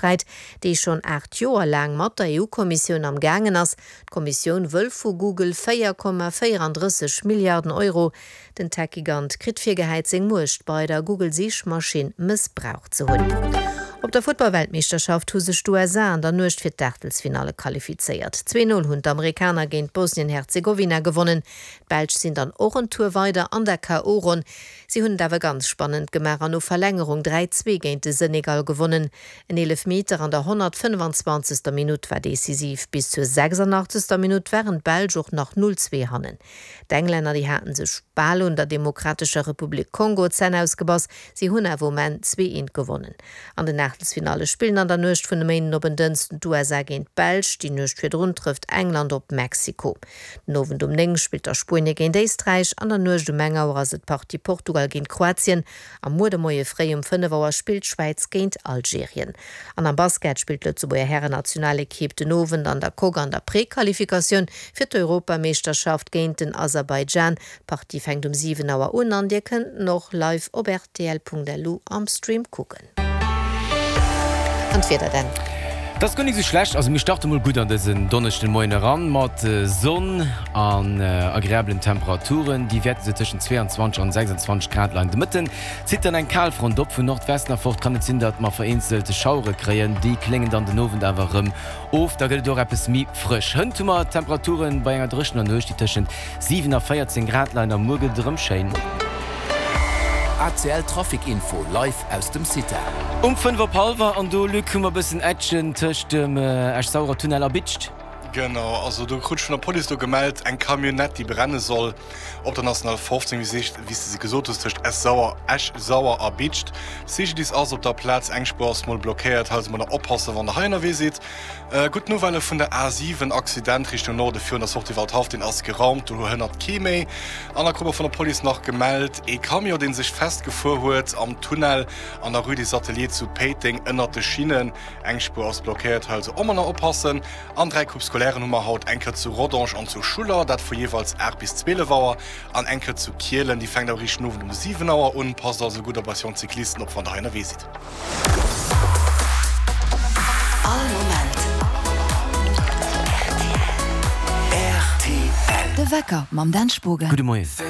Sträit, dee schonn 8 Joer laang mat der EU-Kommissioun am gaangen ass. D'Kommissioun wëll vu Google 4,34 Milliarden Euro. Den Tech-Gigant kritt virgehäit, seng Muecht bei der Google-Sichmaschinn mëssbraucht ze hunn. Op der Futtball-Weltmeeschterschaft hu sech d'USA an der Nuecht fir d'Aachtelsfinalle qualifizéiert. 2, 0 hunn d'Amerikaner géint Bosnien-Herzegowina gewonnen. D'Belsch sinn dann och en Tour weider an der KO-Ronn. Si hunn et awer ganz spannend gemaach an no Verlängerung 3, 2 géint de Senegal gewonnen. En Eelefmeter an der 125. Minutt war decisiv. Bis zur 86. Minutt waren d'Belsch och nach 0, 2 hannen. D'Englänner, déi haten sech bal un der Demokratescher Republik Kongo d'Zänn ausgebass, si hunn awer um Enn 2, 1 gewonnen. An den Aachtelsfinalle spillen an der Nuecht vun e Méinden op en Dënschden d'USA géint d'Belsch, déi Nuecht virdrun trëfft England op Mexiko. Den Owend um 9 spillt da Spuenie géint Éisträich, an der Nuecht um eng Auer ass et d'Partie Portugal géint Kroatien a muer de Moie fréi um 5 Auer spillt d'Schwäiz géint Algerien. An am Basket spillt d'Lëtzebuerger Härennationalekipp den Owend an der Coque an der Prequalifikatioun fir d'Europameeschterschaft géint den Aserbaidschan. D'Partie fänkt um 7 Auer un an dir kënnt en och live op rtl.lu am Stream kucken. An d'Wieder dann? Et ass guer nik sou schlecht. Also mir starte mol gutt an dësen Donneschden Moien eran mat Sonn an agreablen Temperaturen. Déi wäerte sou tëschent 22 an 26 Grad leien. De Mëtten zitt dann eng Kalfront op. Vun Nordwesten erfort kann et sinn, datt mer vereenzelt Schauere kréien. Déi kléngen dann den Owend awer erëm of. Da gëtt et och eppes méi frësch. Hënt hu mer Temperature bei enger dréchener Nuecht, déi tëschent 7 a 14 Grad leien a muer gëtt et erëm schéin. ACL Trafic Info live aus dem CITA. Um 5 op hallwer an do, Luc, hu mer bëssen Action tëscht dem Esch-Sauerer Tunnel a Bidscht. Genau, also do krut ech vun der Police do gemellt, eng Camionnette déi brenne soll op der National 15, wéi s de se gesot hues, tëscht Esch-Sauer, Esch-Sauer a Bidscht. CGDIS ass op der Plaz, eng Spuer ass mol blockéiert, hei also mol nach oppassen, wann der hei ënnerwee sidd. Gutt Nouvelle vun der A7, Accident Richtung Norde virun der Sortie Waldhaff, deen ass geraumt, do hënnert kee méi. An da krut mer vun der Police nach gemellt, ee Camion, dee sech festgefuer huet am Tunnel an der Rue des Ateliers zu Péiteng ënnert de Schinnen. Eng Spuer ass blockéiert, hei also och mol nach oppassen. An 3 Coupes scolaires hu mer haut, eng Kéier zu Rodange an zu Schuller, dat vu jeeweils 8 bis 12 Auer, an eng Kéier zu Kielen, déi fänkt awer eréischt den Owend um 7 Auer un. Passt also gutt op eis jonk Cyclisten op, wann der hei ënnerwee sidd. All Moment rtl. De Wecker mam Dan Spogen. Gudde Moien.